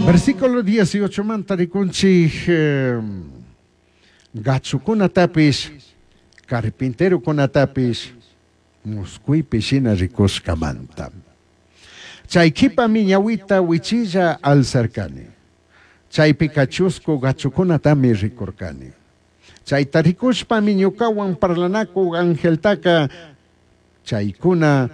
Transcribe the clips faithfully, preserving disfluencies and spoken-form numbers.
Versículo dieciocho manta rikunchik eh, gachukunatapish carpinterokunatapish musquypi shina rikushkamanta. Chay qhipami ñawita wichilla alzarcani. Chaypika chusku gachukunatami rikurkani. Chayta rikushpami ñukawan parlanakuq angeltaka chaykuna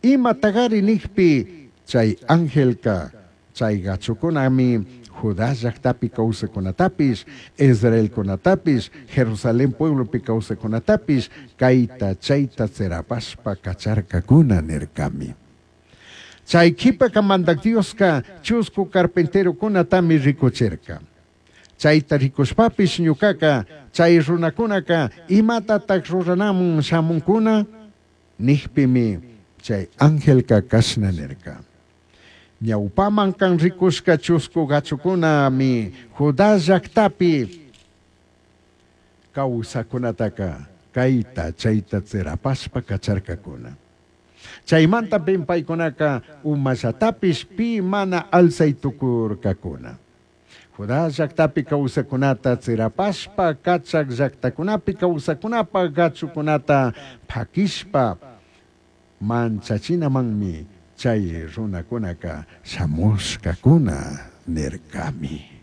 imatagari nijpi chay angelka chay gachukunami Judá llaqtapi kawsaqkunatapish, Israelkunatapish, Jerusalén pueblopi kawsaqkunatapish kayta chayta tsirapashpa kacharkakuna nirkami. Chay qhipaka Mandak Dioska chusku carpinterokunatami rikuchirka. Chayta rikushpapish ñukaka chay runakunaka imatataq ruranamun shamunkuna nijpimi chay angelka kashna nirka. Ñawpaman kan rikushka chusku gachukunami Judá llaqtapi kawsaqkunataka kayta chayta tsirapashpa kacharkakuna. Chaymanta paykunaka umallatapish pi mana alzay tukurkakuna. Judá llaqtapi kawsaqkunata tsirapashpa kachak llaqtakunapi kawsaqkunapa gachukunata pakishpa manchachinamanmi chay runakunaka shamushkakuna nirkami.